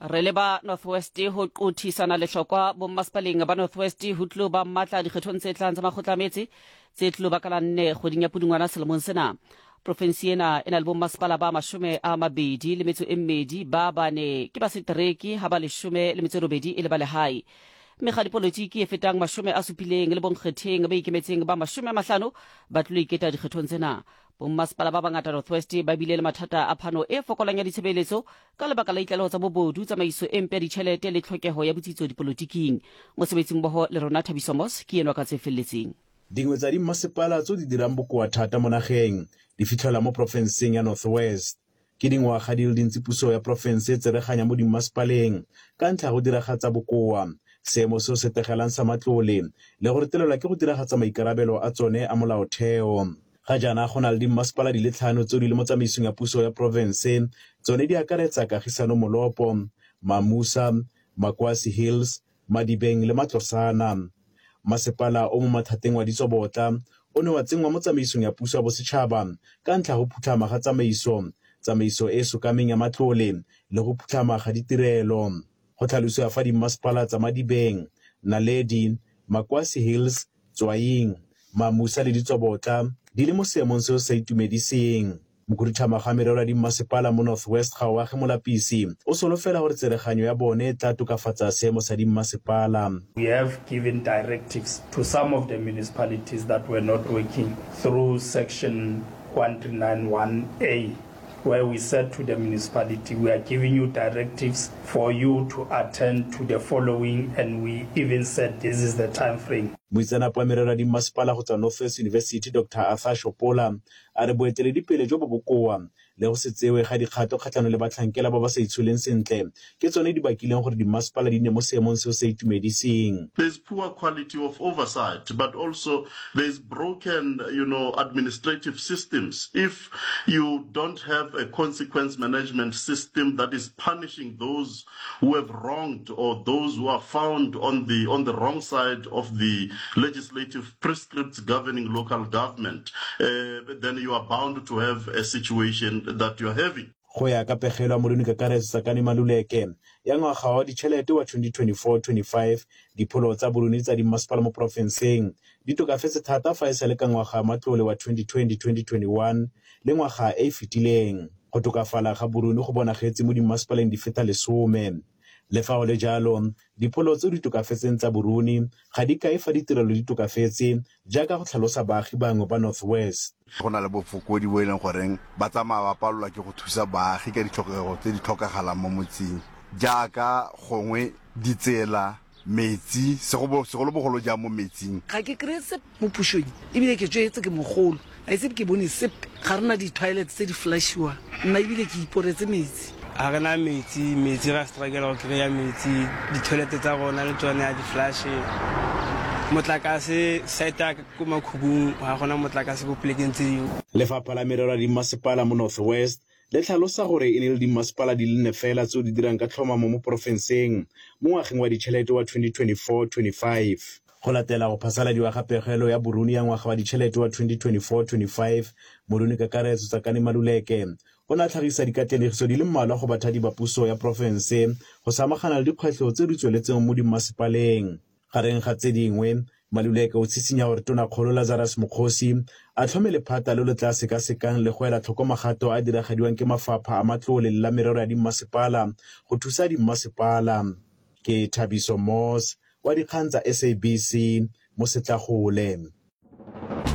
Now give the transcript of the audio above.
Re leba North West ho qothisana lehlokwa bommasepaleng ba North West ho tlilo ba matla dikgethong tse tlang tsa makgotla a metse tse tlilo ba ka la nne kgweding ya Pudungwana selemong sena. Profensi ena e na le bommasepala ba 22, ba bane ke ba setereke ha ba 18 e le ba lehae. Mekga dipolotiki e fetang 70 le bonkgetheng ba ikemetseng ba 50 ba tlilo iketa dikgethong tsena. Bommasepala ba bangata North West ba bile le mathata a phano e fokolang ya ditshebeletso ka lebaka la ditlaleho tsa bobodu, tsamaiso e mpe ya ditjhelete le tlhokeho ya botsitso dipolotiking. Mosebetsimmoho le rona Thabiso Moss ke enwa ka tse felletseng. Dingwe tsa dimmasepala tseo di dirang bokoa thata mo nageng di fitlhelwa mo porofenseng ya North West. Ke dingwaga di le dintsi puso ya porofense e tsereganya mo dimmasepaleng ka ntlha ya go diragatsa bokoa, seemo seo se tegelang sa matlole le go retelelwa ke go diragatsa maikarabelo a tsone a molaotheo. Ga jaana go na le dimmasepala di le tlhano tseo di le mo tsamaisong ya puso ya porofense, tsone di akaretsa Kagisano Molopo, Mamusa, Makwasi Hills, Madibeng le Matlosana. Masepala o mo mathateng wa Ditsobotla o ne wa tsenngwa mo tsamaisong ya puso ya bosetšhaba ka ntlha ya go phutlhama ga tsamaiso, tsamaiso e e sokameng ya matlole le go phutlhama ga ditirelo. Go tlhalosiwa fa dimmasepala tsa Madibeng, Naledi, Makwasi Hills, Tswaing, Mamusa le Ditsobotla di le mo seemong seo se sa itumediseng. Mokhuduthamaga wa merero ya dimmasepala mo North West Gaoage Molapisi o solofela gore tsereganyo ya bone e tla tokafatsa seemo sa dimmasepala. We have given directives to some of the municipalities that were not working through section 1391A where we said to the municipality we are giving you directives for you to attend to the following and we even said this is the time frame. Moitseanape wa merero ya dimmasepala go tswa North West University Doctor Arthur Shopola A re boeteledipele jo bo bokoa le go se tsewe ga dikgato kgatlhanong le batlhankela ba ba sa itsholeng sentle ke tsone di bakileng gore dimmasepala di nne mo seemong seo se sa itumediseng. There's poor quality of oversight, but also there's broken, you know, administrative systems. If you don't have a consequence management system that is punishing those who have wronged or those who are found on the, on the wrong side of the legislative prescripts governing local government, uh, then you are bound to have a situation that you are having. Go ya ka pegelo ya Molemi-Kakaretso Tsakani Maluleke ya ngwaga wa ditšhelete wa 2024-25, dipholo tsa boruni tsa dimmasepala mo porofenseng di tokafetse thata fa e sa le ka ngwaga wa matlole wa 2020-2021 le ngwaga e e fetileng. Go tokafala ga boruni go bonagetse mo dimmasepaleng di feta lesome. Le fa go le jalo, dipholo tseo di tokafetseng tsa boruni ga di kaye fa ditirelo di tokafetse, jaaka go tlhalosa baagi bangwe ba North West. Go na le bofokodi bo e leng goreng ba tsamaya ba palelwa ke go thusa baagi ka ditlhokego tse di tlhokagalang mo motseng jaaka gongwe ditsela, metsi, segolobogolo jang mo metsing. Ga ke kry-e sepe mo pušong ebile ke tšwetse ke mogolo ga ise ke bone sepe. Ga re na di-toilet tse di flushiwang, nna ebile ke iporetse metsi. Ga re na metsi, metsi ra struggle go kry-a metsi, di-toilet tsa rona le tsone ga di flushe. Motlakase, site ya ko Makhubung ga gona motlakase ko polekeng tse dingwe. Lefapha la Merero ya Dimmasepala mo North West le tlhalosa gore e ne e le dimmasepala di le nne fela tseo di dirang ka tlhomamo mo porofenseng mo ngwageng wa ditšhelete wa 2024-25. Go latela go phasaladiwa ga pegelo ya boruni ya ngwaga wa ditšhelete wa 2024-25, Moruni-Kakaretso Tsakani Maluleke o ne a tlhagisa dikatlenegiso di le mmalwa go bathadi ba puso ya porofense go samagana le dikgwetlho tseo di tsweletseng mo dimmasepaleng. Gareng ga tse dingwe, Maluleke o tshitshinya gore Tonakgolo Lazarus Mokgosi a tlhome lephata lo le tla sekasekang le go ela tlhoko magato a a diragadiwang ke mafapha a matlole le la merero ya dimmasepala go thusa dimmasepala. Ke Thabiso Moss wa dikgang tsa SABC mo Setlagole.